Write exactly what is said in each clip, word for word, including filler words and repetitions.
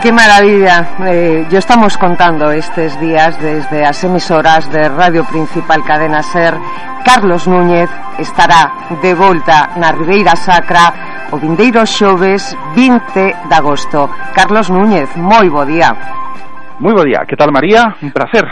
Qué maravilla. Eh, yo estamos contando estes días desde as emisoras de Radio Principal Cadena Ser. Carlos Núñez estará de volta na Ribeira Sacra o vindeiro xoves vinte de agosto. Carlos Núñez, moi bo día. Moi bo día, que tal, María? Un placer.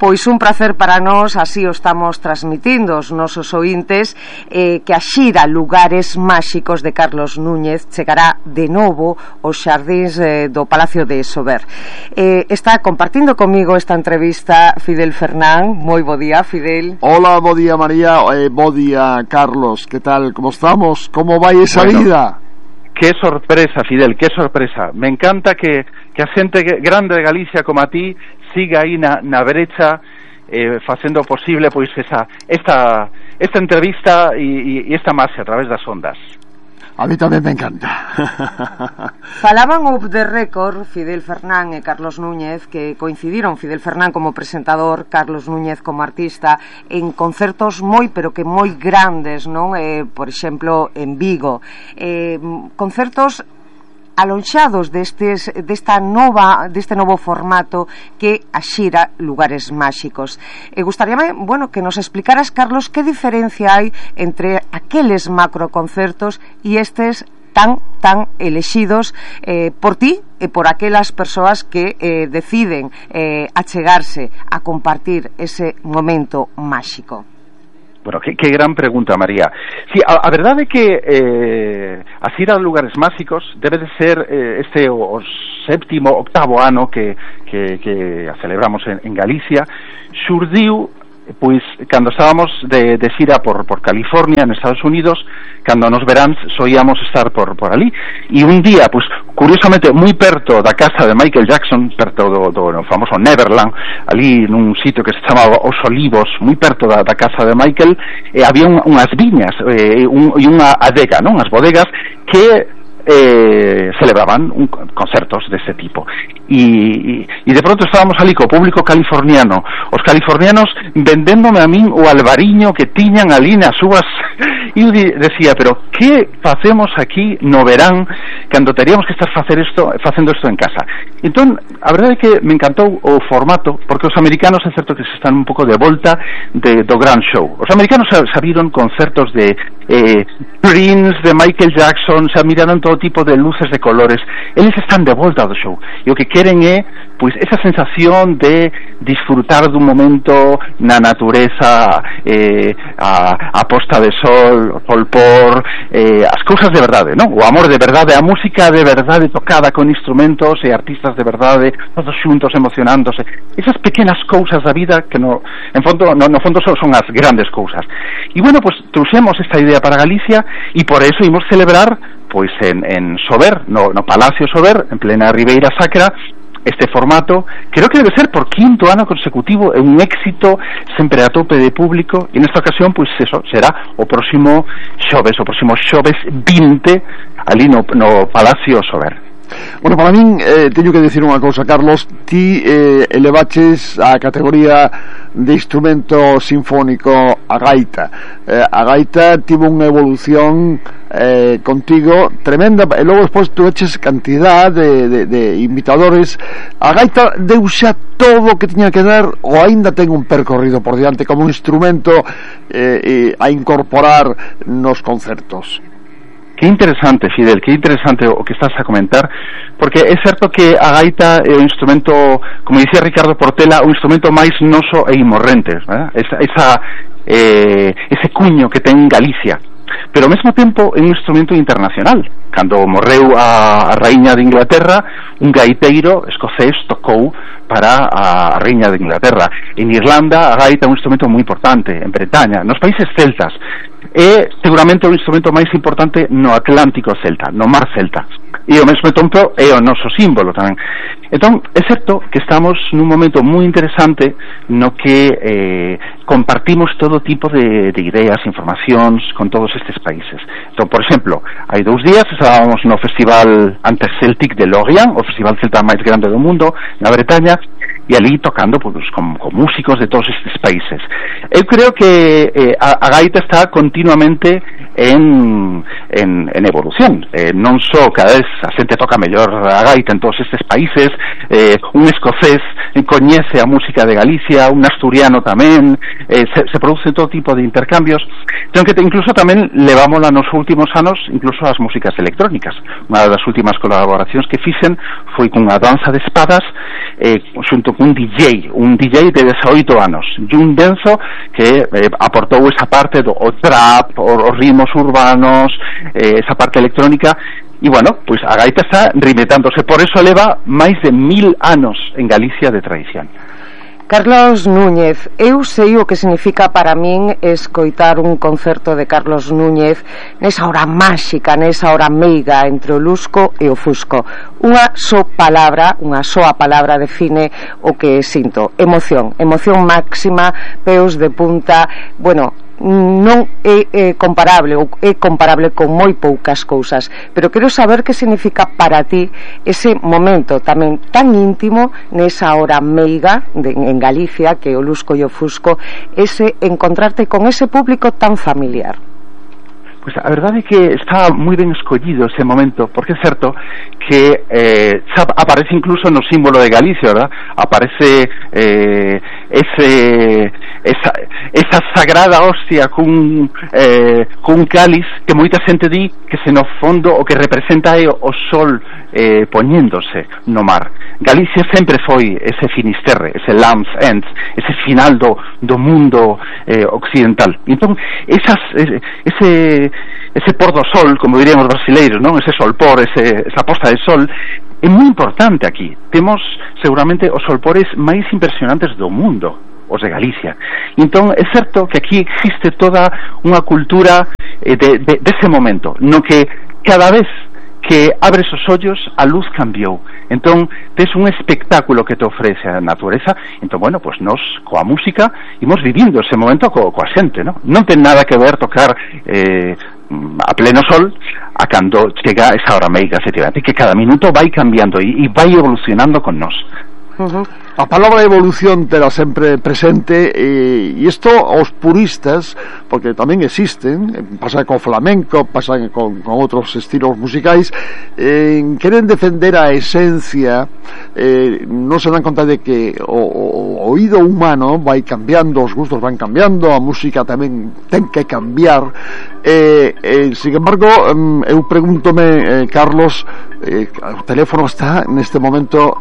Pois un placer para nós, así o estamos transmitindo os nosos ointes, eh, que a xira Lugares Máxicos de Carlos Núñez chegará de novo aos xardíns eh, do Palacio de Sober. Eh, está compartindo comigo esta entrevista Fidel Fernán. Moi bo día, Fidel. Hola, bo día, María, eh, bo día, Carlos. Que tal, como estamos? Como vai esa bueno, vida? Que sorpresa, Fidel, que sorpresa. Me encanta que, que a xente grande de Galicia como a ti siga aí na, na brecha eh, facendo posible pois esa esta esta entrevista e, e esta marcha a través das ondas. A mí tamén me encanta. Falaban off the record Fidel Fernán e Carlos Núñez, que coincidiron Fidel Fernán como presentador, Carlos Núñez como artista, en concertos moi pero que moi grandes, non? Eh, por exemplo, en Vigo. Eh, concertos alonxados destes, desta nova, deste novo formato que a xira Lugares Máxicos. E gustaríame, bueno, que nos explicaras, Carlos, que diferencia hai entre aqueles macroconcertos e estes tan, tan elexidos eh, por ti e por aquelas persoas que eh, deciden eh, achegarse a compartir ese momento máxico. Bueno, que, que gran pregunta, María. Sí, a, a verdade é que eh, a xira de Lugares Máxicos debe de ser eh, este o, o séptimo, octavo ano que, que, que a celebramos en, en Galicia. Xurdiu, pois, cando estábamos de, de xira por, por California, en Estados Unidos, cando nos veráns soíamos estar por, por ali. E un día, pois, curiosamente, moi perto da casa de Michael Jackson, perto do, do no famoso Neverland, ali nun sitio que se chamaba Os Olivos, moi perto da, da casa de Michael, eh, había un, unhas viñas eh, un, e unha adega, non? As bodegas que eh, celebraban un, concertos deste tipo. E, e de pronto estábamos ali co público californiano, os californianos vendéndome a min o albariño que tiñan ali nas súas. E eu decía, pero que facemos aquí no verán cando teríamos que estar facer isto, facendo isto en casa? Entón, a verdade é que me encantou o formato, porque os americanos é certo que se están un pouco de volta de, do gran show. Os americanos sabiron concertos de eh, Prince, de Michael Jackson, se miraron todo tipo de luces de colores. Eles están de volta do show e o que queren é pois esa sensación de disfrutar dun momento na natureza, eh, a, a posta de sol, o folpor, eh, as cousas de verdade, non? O amor de verdade, a música de verdade tocada con instrumentos e artistas de verdade, todos xuntos emocionándose. Esas pequenas cousas da vida que no, en fondo, no, no fondo son, son as grandes cousas. E bueno, pues trouxemos esta idea para Galicia e por eso imos celebrar pois en, en Sober, no, no Palacio Sober, en plena Ribeira Sacra, este formato, creo que debe ser por quinto ano consecutivo, é un éxito sempre a tope de público, e nesta ocasión, pois eso, será o próximo xoves, o próximo xoves vinte, ali no, no Palacio Sober. Bueno, para min, eh, teño que decir unha cousa, Carlos, ti eh, elevaches a categoría de instrumento sinfónico a gaita. Eh, a gaita tivo unha evolución eh, contigo tremenda, e logo despois tu eches cantidad de, de, de imitadores. A gaita deu xa todo o que tiña que dar, ou aínda ten un percorrido por diante como un instrumento eh, eh, a incorporar nos concertos? Que interesante, Fidel, que interesante o que estás a comentar, porque é certo que a gaita é un instrumento, como dicía Ricardo Portela, un instrumento máis noso e imorrente, ¿verdad? Esa, esa, eh, ese cuño que ten Galicia, pero ao mesmo tempo é un instrumento internacional. Cando morreu a, a raíña de Inglaterra, un gaiteiro escocés tocou para a raíña de Inglaterra. En Irlanda a gaita é un instrumento moi importante, en Bretaña, nos países celtas, é seguramente o instrumento máis importante no Atlántico celta, no mar celta, e ao mesmo tempo é o noso símbolo tamén. Entón, é certo que estamos nun momento moi interesante no que eh, compartimos todo tipo de, de ideas, informacións con todos estes países. Entón, por exemplo, hai dous días estábamos no Festival Antes Celtic de Lorient, o festival celta máis grande do mundo, na Bretaña, e ali tocando pues, con, con músicos de todos estes países. Eu creo que eh, a, a gaita está continuamente en, en, en evolución, eh, non só cada vez a xente toca mellor a gaita en todos estes países, eh, un escocés coñece a música de Galicia, un asturiano tamén, eh, se, se produce todo tipo de intercambios, entón que te, incluso tamén levámola nos últimos anos incluso as músicas electrónicas. Unha das últimas colaboracións que fixen foi cunha danza de espadas eh, xunto cun D J, un D J de dezaoito anos, Jun Denso, que eh, aportou esa parte do o trap, os ritmos urbanos, eh, esa parte electrónica. E, bueno, pois a gaita está reinventándose, por eso leva máis de mil anos en Galicia de tradición. Carlos Núñez, eu sei o que significa para min escoitar un concerto de Carlos Núñez nesa hora máxica, nesa hora meiga entre o lusco e o fusco. Unha só palabra, unha soa palabra define o que sinto: emoción, emoción máxima, peos de punta. Bueno, non é, é comparable ou é comparable con moi poucas cousas, pero quero saber que significa para ti ese momento tamén tan íntimo nesa hora meiga de, en Galicia, que o lusco e o fusco, ese encontrarte con ese público tan familiar. Pois a verdade é que está moi ben escollido ese momento, porque é certo que eh, aparece incluso no símbolo de Galicia, ¿verdad? Aparece eh, ese esa, esa sagrada hostia cun, eh, cun cáliz que moita xente di que se no fondo o que representa é o sol eh, poñéndose no mar. Galicia sempre foi ese Finisterre, ese Land's End, ese final do, do mundo eh, occidental. Entón, esas, ese ese pôr do sol, como dirían os brasileiros, non? Ese solpor, ese, esa posta de sol é moi importante aquí. Temos seguramente os solpores máis impresionantes do mundo, os de Galicia. Entón é certo que aquí existe toda unha cultura eh, de, de, de ese momento, no que cada vez que abres os ollos a luz cambiou. Entón tes un espectáculo que te ofrece a natureza. Entón, bueno, pues nos coa música imos vivindo ese momento co, coa xente, non? Non ten nada que ver tocar eh, a pleno sol a cando chega esa hora meiga, efectivamente, que cada minuto vai cambiando e, e vai evolucionando con nós. Uh-huh. A palabra evolución terá sempre presente, e, e isto aos puristas, porque tamén existen, pasa co flamenco, pasa con, con outros estilos musicais, eh, queren defender a esencia, eh, non se dan conta de que o, o oído humano vai cambiando, os gustos van cambiando, a música tamén ten que cambiar. Eh, eh, sin embargo, eu pregúntome, eh, Carlos, eh, o teléfono está neste momento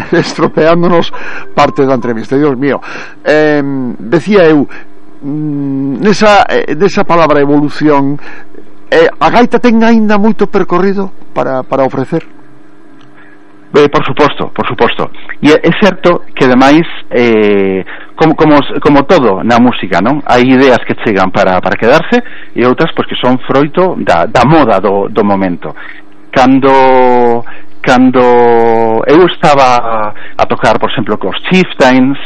estropeándonos parte da entrevista. Dios mío, eh, decía eu, nesa, eh, nesa palabra evolución, eh, a gaita ten aínda moito percorrido para, para ofrecer? Eh, por suposto, por suposto. E é certo que ademais eh, como, como, como todo na música, non? Hai ideas que chegan para, para quedarse e outras pois, que son froito da, da moda do, do momento. Cando cando eu estaba a tocar, por exemplo, cos Chieftains,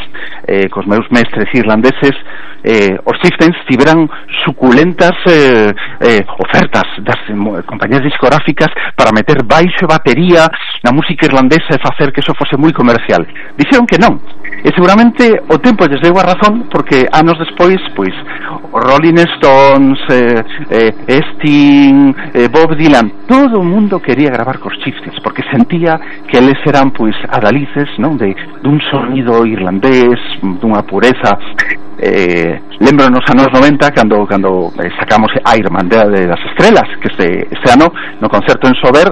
eh, cos meus mestres irlandeses, eh, os Chieftains tiveran suculentas eh, eh, ofertas das eh, compañías discográficas para meter baixo e batería na música irlandesa e facer que eso fose moi comercial. Dixeron que non, e seguramente o tempo lles deu a razón, porque anos despois, pois, os Rolling Stones, eh, eh, Sting, eh, Bob Dylan, todo o mundo quería gravar cos Chieftains, porque sentía que eles eran pois adalices, non, de dun sonido irlandés, dunha pureza. Eh, lembro nos anos noventa cando cando eh, sacamos a Irmandade de das Estrelas, que este, este ano no concerto en Sober,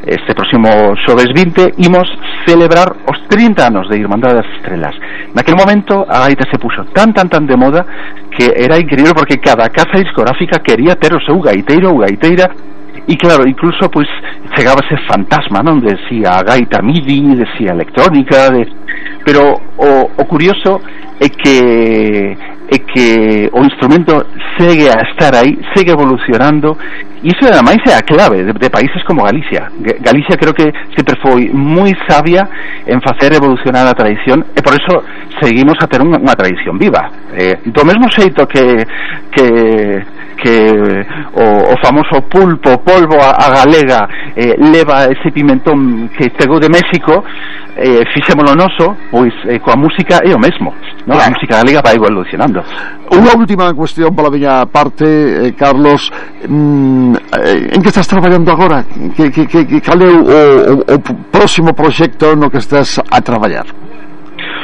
este próximo xoves vinte, imos celebrar os trinta anos de Irmandade das Estrelas. Naquel momento a gaita se puxo tan tan tan de moda que era increíble, porque cada casa discográfica quería ter o seu gaiteiro ou gaiteira. E claro, incluso pois chegaba ese fantasma, non? Decía gaita midi, decía electrónica, de... pero o, o curioso é que é que o instrumento segue a estar aí, segue evolucionando E iso ademais é a clave de, de países como Galicia. Galicia creo que sempre foi moi sabia en facer evolucionar a tradición, e por eso seguimos a ter unha, unha tradición viva. Eh, do mesmo xeito que que que o, o famoso pulpo, polvo a, a galega eh, leva ese pimentón que chegou de México, eh, fixémolo noso, pois eh, coa música é o mesmo, no? Claro. A música galega vai evolucionando. Unha última cuestión pola miña parte, eh, Carlos, mm, eh, en que estás traballando agora? Que, que, que, que cal é o, o, o próximo proxecto no que estás a traballar?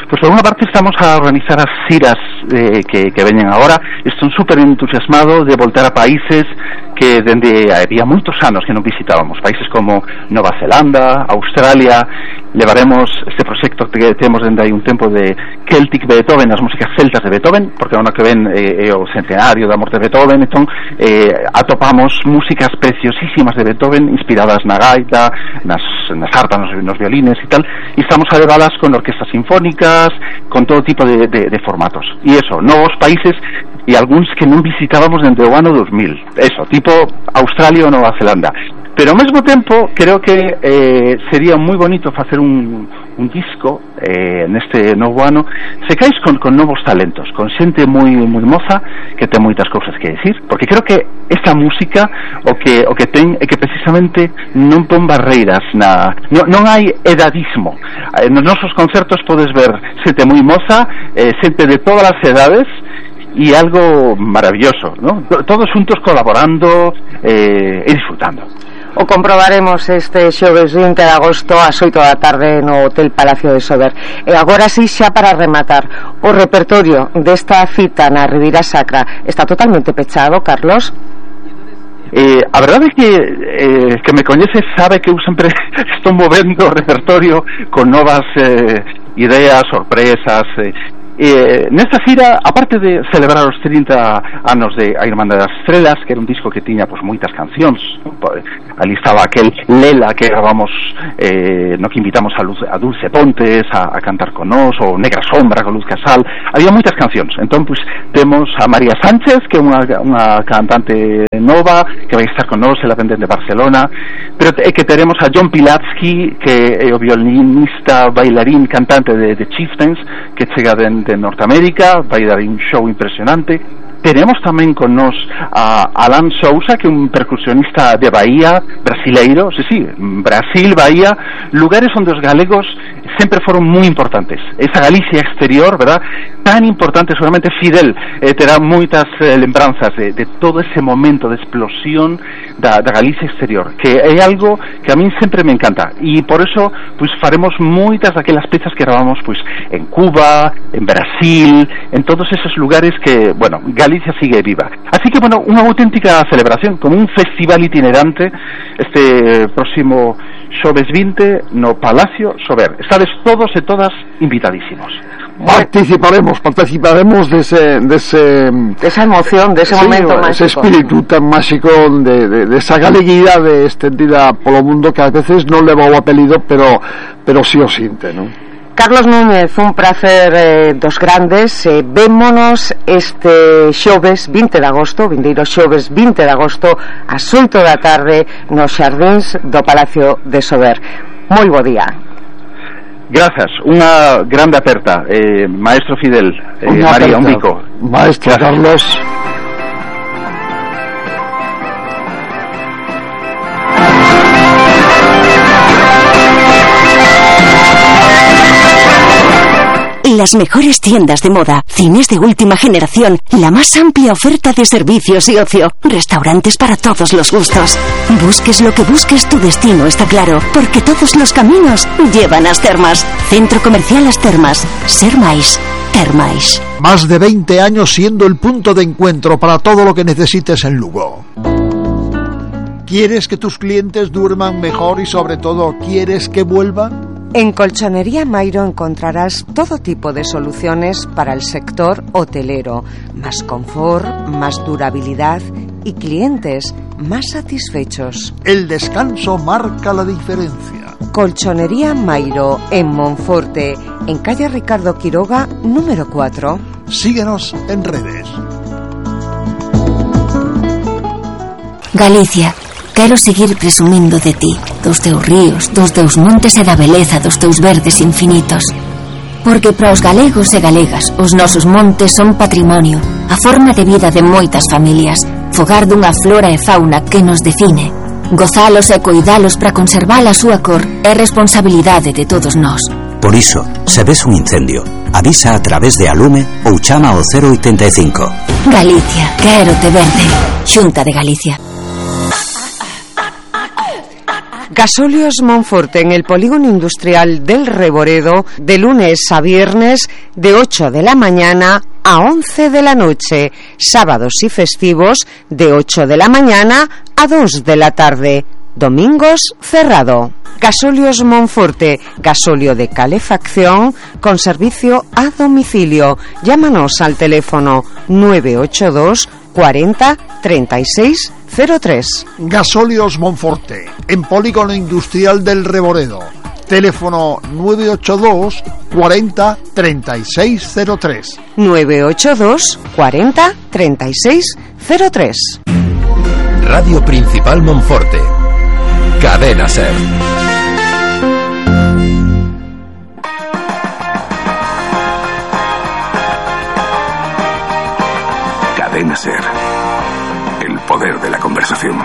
Pois por unha parte estamos a organizar as ciras eh, que, que veñen agora. Estou super entusiasmado de voltar a países que dende había moitos anos que non visitábamos, países como Nova Zelanda, Australia. Levaremos este proxecto que temos dende aí un tempo de Celtic Beethoven, as músicas celtas de Beethoven, porque o ano que ven eh, é o centenario da morte de Beethoven. Entón eh, atopamos músicas preciosísimas de Beethoven inspiradas na gaita, nas, nas harpas, nos, nos violines e tal, e estamos a levalas con orquestas sinfónicas, con todo tipo de, de, de formatos. E eso, novos países e algúns que non visitábamos dende o ano dos mil, eso, tipo Australia ou Nova Zelanda. Pero ao mesmo tempo creo que eh, sería moi bonito facer un, un disco eh, neste novo ano, se caes con, con novos talentos, con xente moi moi moza que ten moitas cousas que decir, porque creo que esta música o que o que ten é que precisamente non pon barreiras na, non, non hai edadismo. Eh, nos nosos concertos podes ver xente moi moza, eh, xente de todas as edades, e algo maravilloso, ¿no? Todos juntos colaborando eh, e disfrutando. O comprobaremos este xoves vinte de agosto ás oito da tarde no Hotel Palacio de Sober. E agora sí, xa para rematar, o repertorio desta cita na Ribeira Sacra está totalmente pechado, Carlos? Eh, a verdade é que eh, que me coñece sabe que eu sempre estou movendo o repertorio con novas eh, ideas, sorpresas. eh, Eh, nesta xira, aparte de celebrar os trinta anos de A Irmandade das Estrelas, que era un disco que tiña pois moitas cancións, ali estaba aquel Lela que gravamos, eh, no que invitamos a, Luz, a Dulce Pontes a, a cantar con nós, ou Negra Sombra con Luz Casal. Había moitas cancións. Entón, pois, temos a María Sánchez, que é unha, unha cantante nova que vai estar con nós, ela vende de Barcelona, pero é que teremos a John Pilatsky, que é o violinista, bailarín, cantante de, de Chieftains, que chega de de Norteamérica, vai dar un show impresionante. Teremos tamén con nos a Alan Sousa, que é un percusionista de Bahía, brasileiro, sí, sí, Brasil, Bahía, lugares onde os galegos sempre foron moi importantes. Esa Galicia exterior, verdad, tan importante, seguramente Fidel eh, terá moitas eh, lembranzas de, de todo ese momento de explosión da, da Galicia exterior, que é algo que a min sempre me encanta, e por eso pois faremos moitas daquelas pezas que gravamos pois en Cuba, en Brasil, en todos esos lugares que, bueno, Galicia sigue viva. Así que, bueno, unha auténtica celebración, como un festival itinerante este próximo xoves vinte no Palacio Sober. Estades todos e todas invitadísimos. Participaremos, participaremos dese, dese, de esa emoción, de ese sí, momento máxico, ese espíritu tan máxico de, de, de esa galeguidade extendida polo mundo que a veces non leva o apelido, pero, pero sí o sinte, non? Carlos Núñez, un prazer eh, dos grandes. eh, Vémonos este xoves vinte de agosto, vindeiro xoves vinte de agosto ás oito da tarde nos xardíns do Palacio de Sober. Moi bo día. Grazas, unha grande aperta, eh, maestro Fidel, eh, María, un bico. Maestro Gracias. Carlos. Las mejores tiendas de moda, cines de última generación, la más amplia oferta de servicios y ocio, restaurantes para todos los gustos. Busques lo que busques, tu destino está claro, porque todos los caminos llevan a As Termas. Centro Comercial As Termas. Ser máis, ter máis. Más de veinte años siendo el punto de encuentro para todo lo que necesites en Lugo. ¿Quieres que tus clientes duerman mejor y sobre todo quieres que vuelvan? En Colchonería Mairo encontrarás todo tipo de soluciones para el sector hotelero, más confort, más durabilidad y clientes más satisfechos. El descanso marca la diferencia. Colchonería Mairo en Monforte, en calle Ricardo Quiroga, número cuatro. Síguenos en redes. Galicia, quero seguir presumindo de ti, dos teus ríos, dos teus montes e da beleza dos teus verdes infinitos. Porque para os galegos e galegas os nosos montes son patrimonio, a forma de vida de moitas familias, fogar dunha flora e fauna que nos define. Gozalos e coidalos para conservar a súa cor é responsabilidade de todos nós. Por iso, se ves un incendio, avisa a través de Alume ou chama ao cero oitenta e cinco. Galicia, quero te verde. Xunta de Galicia. Gasóleos Monforte en el polígono industrial del Reboredo, de lunes a viernes de ocho de la mañana a once de la noche, sábados y festivos de ocho de la mañana a dos de la tarde, domingos cerrado. Gasóleos Monforte, gasóleo de calefacción con servicio a domicilio. Llámanos al teléfono nueve ocho dos cuarenta treinta y seis cero tres. Gasóleos Monforte, en polígono industrial del Reboredo. Teléfono nueve ocho dos cuarenta treinta y seis cero tres. nueve ocho dos cuarenta treinta y seis cero tres. Radio Principal Monforte. Cadena Ser. Cadena Ser. El poder de la conversación.